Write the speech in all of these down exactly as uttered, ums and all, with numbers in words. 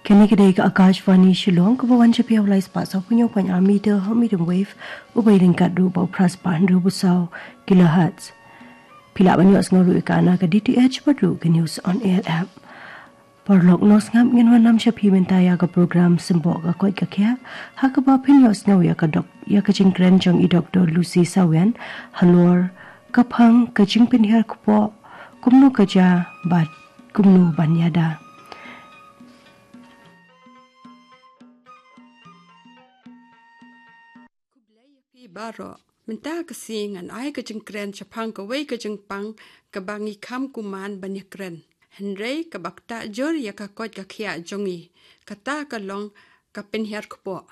Kane ka dei ka Akashvani Shillong, kaba wan sha phi ha u lai spah saw phew hynñiew point ar meter ha u medium wave, uba ïalyngkot ruh bad u phra spah hynriew phew saw kilohertz. Phi lah ban ïohsngew ruh ïa kane ka D T H bad ruh ka News on Air app. Paralok nongsngap, ngin wanlam sha phi mynta ïa ka program Symboh ka Koit ka Khiah, ha kaba phin ïohsngew ïa ka dok, ïa ka jingkren jong i Doktor Lucy Sawian halor ka phang ka jingpynhiar kpoh, kumno ka jia bad kumno ban ïada. Khublei ïa phi baroh. Mynta ka sngi ngan ai ka jingkren shaphang kawei ka jingpang kaba ngi kham kumne ban ïakren, hynrei kaba ktah jur ïa ka koit ka khiah jong ngi, kata ka long ka pynhiar kpoh.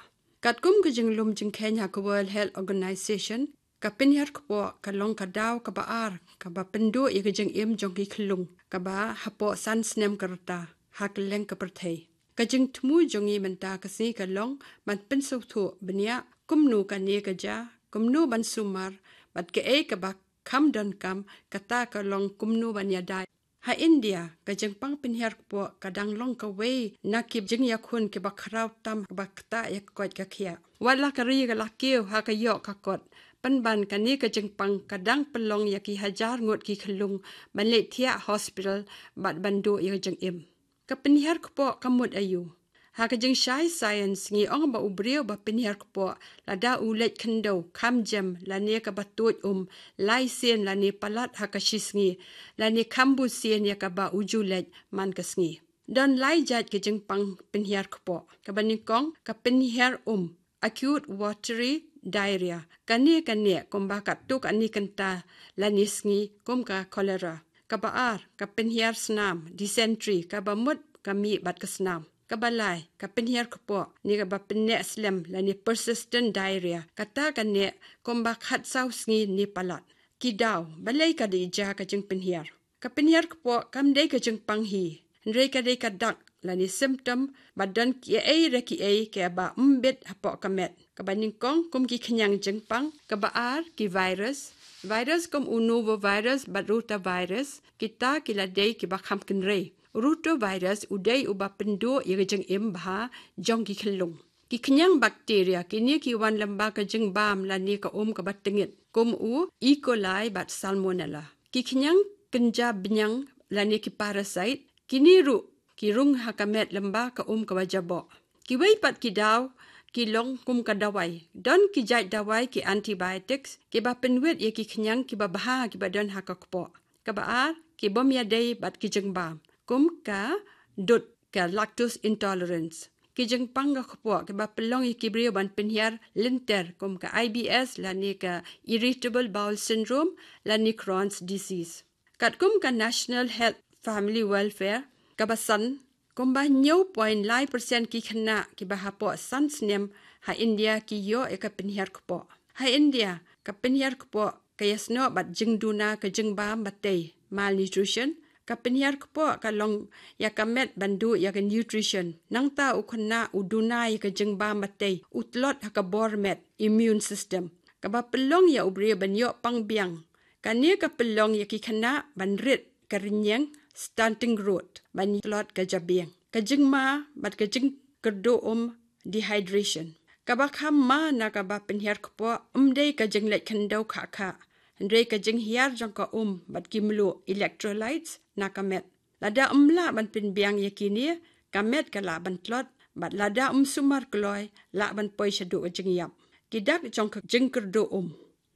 Katkum ka jinglum jingkheiñ ha ka World Health Organization, ka pynhiar kpoh ka long ka daw kaba ar kaba pynduh ïa ka jingim jong ki khyllung kaba hapoh san snem ka rta ha kylleng ka pyrthei. Ka jingthmu jong ngi mynta ka sngi ka long ban pynsngewthuh bniah kumno kane ka jia, kumno ban sumar, bad kaei kaba kham donkam, kata ka long kumno ban ïada. Ha India, ka jingpang pynhiar kpoh ka dang long kawei na ki jingïakhun kiba khraw tam kaba ktah ïa ka koit ka khiah. Wat la ka ri ka la kiew ha ka ïoh ka kot, pynban kane ka jingpang ka dang pynlong ïa ki hajar ngut ki khyllung ban leit thiah hospital bad ban duh ïa ka jingim. Ka pynhiar kpoh ka mut aïu? Ha ka jingshai science ngi ong ba u briew ba pynhiar kpoh, lada u leit khyndew kham jem lane kaba tuid um lai sien lane palat ha ka shi sngi, lane kham bun sien ïa kaba u ju leit man ka sngi. Don lai jait ka jingpang pynhiar kpoh. Kaba nyngkong, ka pynhiar um, acute watery diarrhea. Kane ka neh kumba katto katne kynta lane sngi kum ka cholera. Kaba ar, ka pynhiar snam, dysentery, kaba mut ka mih bad ka snam. Kaba lai, ka pynhiar kpoh ne kaba pynneh slem lane persistent diarrhea. Kata ka neh kumba khatsaw sngi ne palat. Ki daw, balei ka dei jia ka jingpynhiar? Ka pynhiar kpoh kam dei ka jingpang hi, hynrei ka dei ka dak lane symptom ba don kiei re kiei kiba ym bit hapoh ka met. Kaba nyngkong, kum ki khñiang jingpang. Kaba ar, ki virus. Virus kum u norovirus bad rotavirus, kita ki la dei kiba kham kynrei. Rotavirus u dei uba pynduh ïa ka jingim bha jong ki khyllung. Ki khñiang bakteria, kine ki wan lyngba ka jingbam lane ka um kaba tyngit, kum u E. coli bad Salmonella. Ki khñiang kynja bniang lane ki parasite, kine ruh ki rung ha ka met lyngba ka um kaba jaboh. Kiwei pat ki daw ki long kum ka dawai. Don ki jait dawai, ki antibiotics, kiba pynwit ïa ki khñiang kiba bha kiba don ha ka kpoh. Kaba ar, ki bym ïadei bad ki jingbam, kum ka dud, ka lactose intolerance. Ki jingpang ka kpoh kiba pynlong ïa ki briew ban pynhiar lynter, kum ka I B S lane ka irritable bowel syndrome lane Crohn's disease. Katkum ka National Health Family Welfare, kaba san, kumba hynñiew point lai percent ki khynnah kiba hapoh san snem ha India ki ïoh ïa ka pynhiar kpoh. Ha India, ka pynhiar kpoh ka ïasnoh bad jingduna ka jingbam batei, malnutrition. Ka pynhiar kpoh ka long ïa ka met ban duh ïa ka nutrition. Nangta u khynnah u duna ïa ka jingbam batei, u tlot ha ka bor met, immune system. Kaba pynlong ïa u briew ban ïoh pang biang. Kane ka pynlong ïa ki khynnah ban rit ka rynïeng, stunting growth, ban tlot ka jabieng. Ka jingma bad ka jingkyrduh um, dehydration. Kaba kham ma na kaba pynhiar kpoh ym dei ka jingleit khyndew khah khah, hynrei ka jinghiar jong ka um bad ki mluh, electrolytes, na ka met. Lada ym lah ban pynbiang ïa kine, ka met ka lah ban tlot, bad lada ym sumar kloi, lah ban poi shaduh ka jingïap. Ki dak jong ka jingkyrduh um.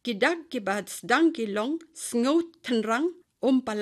Ki dak kiba sdang ki long sngew thynrang, um palat